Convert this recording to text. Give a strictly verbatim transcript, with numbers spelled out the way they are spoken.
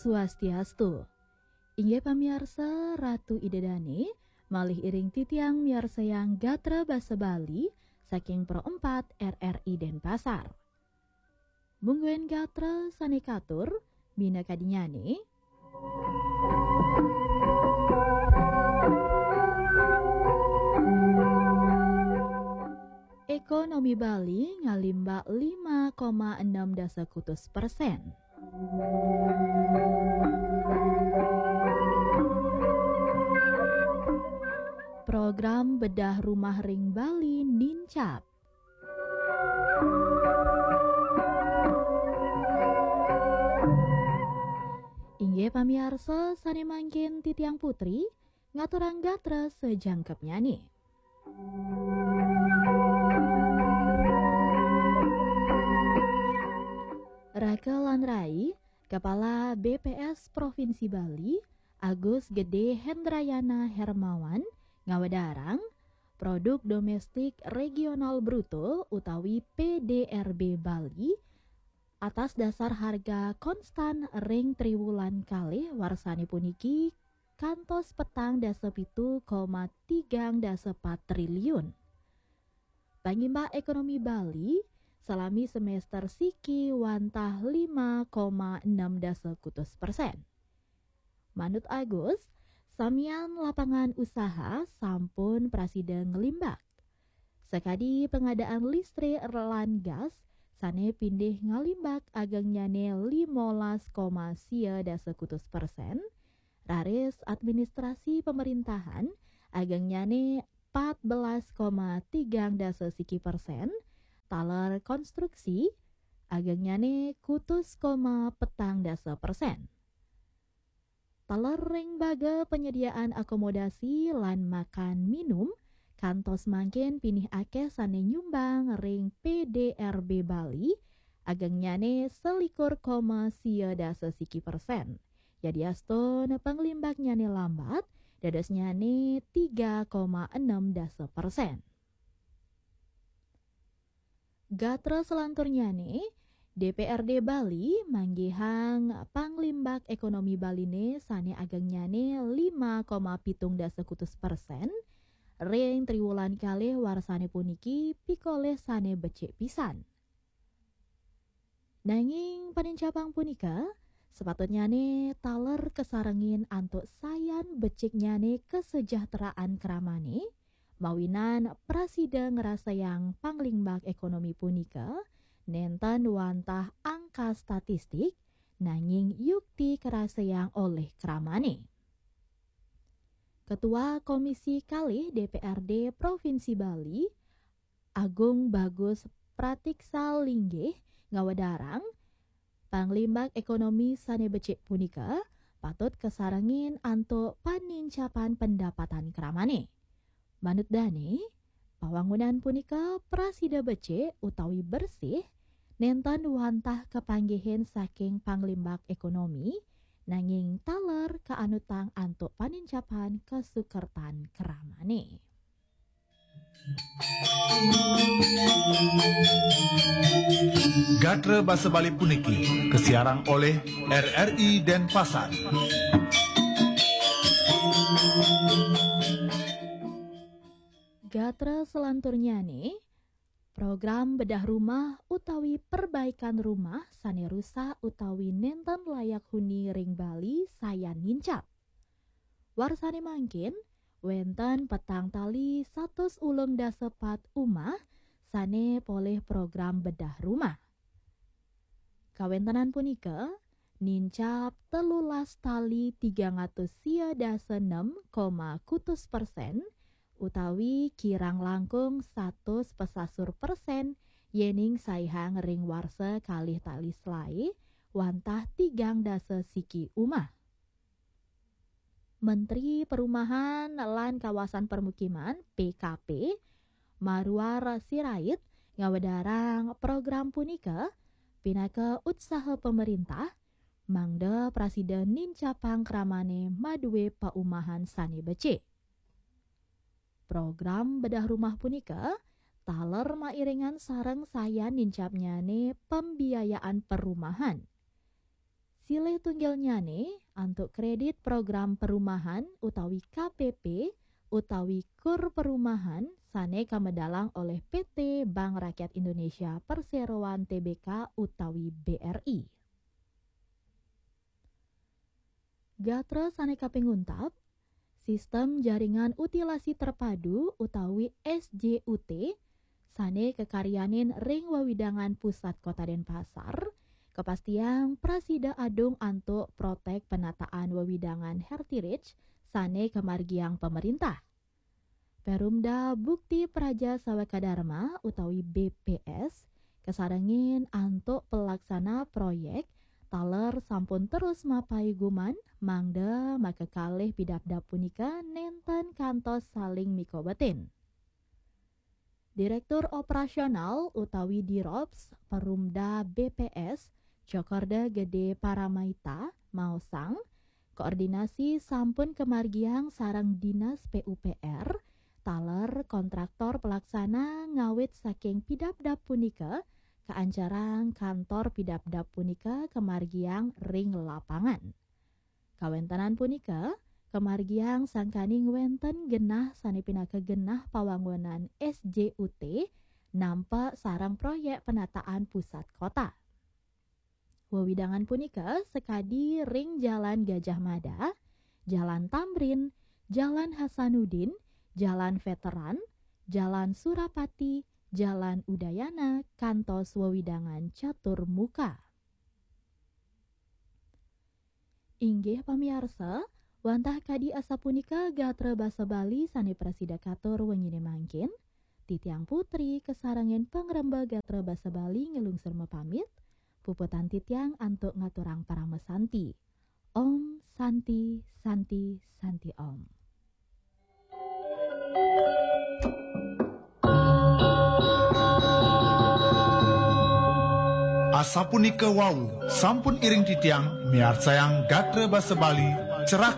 Swastiastu. Inggih pamiarsa, Ratu Ida Dane, malih iring titiang miarsayang gatra basa Bali saking Pro empat R R I Denpasar. Mungguing gatra sane katur, minakadinyane. Ekonomi Bali ngalimbak lima koma enam dasa kutus persen. Program bedah rumah ring Bali nincap. Inggih pamiarsa, sane mangkin titiang Putri ngaturang gatra sajangkepnyane. Raka lan rai, Kepala B P S Provinsi Bali, Agus Gede Hendrayana Hermawan, ngawedarang, produk domestik regional bruto utawi P D R B Bali atas dasar harga konstan ring triwulan kalih warsane puniki kantos petang dasa pitu koma tigang dasa pat triliun. Pangimbak ekonomi Bali salami semester siki wantah lima koma enam dasa kutus persen. Manut Agus, samian lapangan usaha sampun prasida nglimbak. Sakadi pengadaan listrik lan gas sane pindih ngalimbak agengnyane limolas koma sia dasa kutus persen, raris administrasi pemerintahan agengnyane pat belas koma tigang dasa siki persen, taler konstruksi agengnyane kutus koma petang dasa persen. Taler ring baga penyediaan akomodasi lan makan minum, kantos mangkin pinih akeh sane nyumbang ring P D R B Bali, agengnyane selikur koma sia dasa siki persen. Yadiastun panglimbaknyane lambat, dadosnyane tiga koma enam dasa persen. Gatra selanturnyane, D P R D Bali manggihang panglimbak ekonomi Baline sane agengnyane lima koma pitung dasa kutus persen, ring triwulan kalih warsane puniki pikolih sane becik pisan. Nanging panincapang punika sepatutnyane taler kasarengin antuk sayan beciknyane kasejahteraan kramane, mawinan prasida ngrasayang panglimbak ekonomi punika nenten wantah angka statistik, nanging yukti karasayang olih kramane. Ketua Komisi Kalih D P R D Provinsi Bali, Agung Bagus Pratiksa Linggih, ngawedarang, panglimbak ekonomi sane becik punika patut kasarengin antuk panincapan pendapatan kramane. Manut dane, pawangunan punika prasida becik utawi bersih, nenten wantah kapanggihin saking panglimbak ekonomi, nanging taler kaanutang antuk panincapan kasukertan kramane. Gatra basa Bali puniki kasiarang olih R R I Denpasar. Gatra selanturnyane, program bedah rumah utawi perbaikan rumah sane rusak utawi nenten layak huni ring Bali sayan nincap. Warsane mangkin, wenten petang tali satus ulung dasa pat umah sane polih program bedah rumah. Kawentenan punika nincap telulas tali tigang atus sia dasa nem koma kutus persen, utawi kirang langkung satus pesasur persen, yening saihang ring warsa kalih tali selae wantah tigang dasa siki umah. Menteri Perumahan lan Kawasan Permukiman, P K P, Marwar Sirait, ngawedarang program punika pinaka utsaha pamerintah mangda prasida nincapang kramane madue paumahan sane becik. Program bedah rumah punika taler mairingan sareng sayan nincapnyane pembiayaan perumahan. silih tunggilnyane antuk kredit program perumahan utawi K P P utawi kur perumahan sane kamedalang oleh P T Bank Rakyat Indonesia Perseroan T B K utawi B R I. Gatra sane kaping untap, sistem jaringan utilasi terpadu utawi S J U T sane kakaryanin ring wewidangan pusat Kota Denpasar, kapastiang prasida adung antuk protek penataan wewidangan heritage sane kamargiang pemerintah. Perumda Bukti Praja Sawaka Dharma utawi B P S kasarengin antuk pelaksana proyek taler sampun terus mapaiguman mangda makakalih pidabdab punika nenten kantos saling mikobetin. Direktur Operasional utawi Dirops Perumda B P S, Cokorda Gede Paramaita, maosang, koordinasi sampun kamargiang sareng Dinas P U P R, taler kontraktor pelaksana ngawit saking pidabdab punika kaancarang kantor pidabdab punika kamargiang ring lapangan. Kawentenan punika kamargiang sangkaning wenten genah sane pinaka genah pawangunan S J U T nampa sareng proyek penataan pusat kota. Wewidangan punika sakadi ring Jalan Gajah Mada, Jalan Tamrin, Jalan Hasanuddin, Jalan Veteran, Jalan Surapati, Jalan Udayana, kantos wewidangan Catur Muka. Inggih pamiarsa, wantah kadi asapunika gatra basa Bali sane prasida katur wenyine mangkin. Titiang Putri kasarengin pangremba gatra basa Bali nglungsur mapamit. Puputang titiang antuk ngaturang parama santi. Om Santi, Santi, Santi Om. Asapunika wau, sampun iring titiang miarsayang gatra basa Bali, cerak